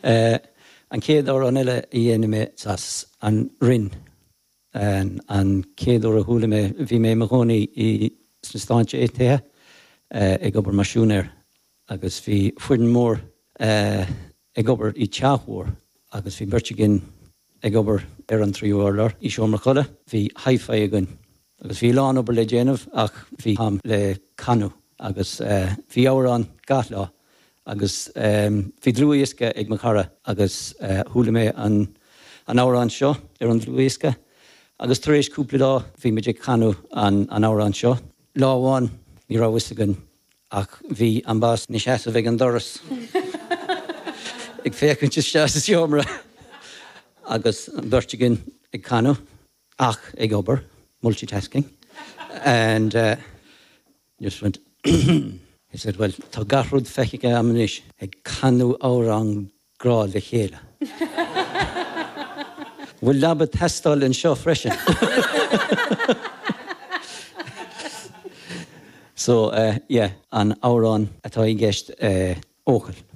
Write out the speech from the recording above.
An chéad amhrán eile a dhéanfaidh mé as an Rinn. An chéad uair a chuala mé, bhí mé i mo chónaí i sna Stáit Aontaithe ag obair mar siúinéir agus bhí foireann mór ag obair i teach mhór agus bhí beirt againn ag obair ar an tríú urlár i seomra codladh. Bhí hi-fi againn agus bhí a lán obair le déanamh ach bhí am le canadh agus bhí amhrán gach lá Agus bhí dlúthdhiosca ag mo chara agus chuala mé an amhrán seo ar an dlúthdhiosca agus tar éis cúpla lá bhí muid ag canadh an amhrán seo. Lá amháin ní raibh fhios againn ach bhí an boss ina sheasamh ag an doras ag féachaint isteach sa seomra agus an bheirt againn ag canadh ach ag obair, multitasking, and. Just went He said, Bhuel, tá gach rud feicthe agam anois, ag canadh amhrán grá le chéile. Bhfuil leaba ag teastáil anseo freisin? So, yeah, an amhrán atá i gceist, Eochaill.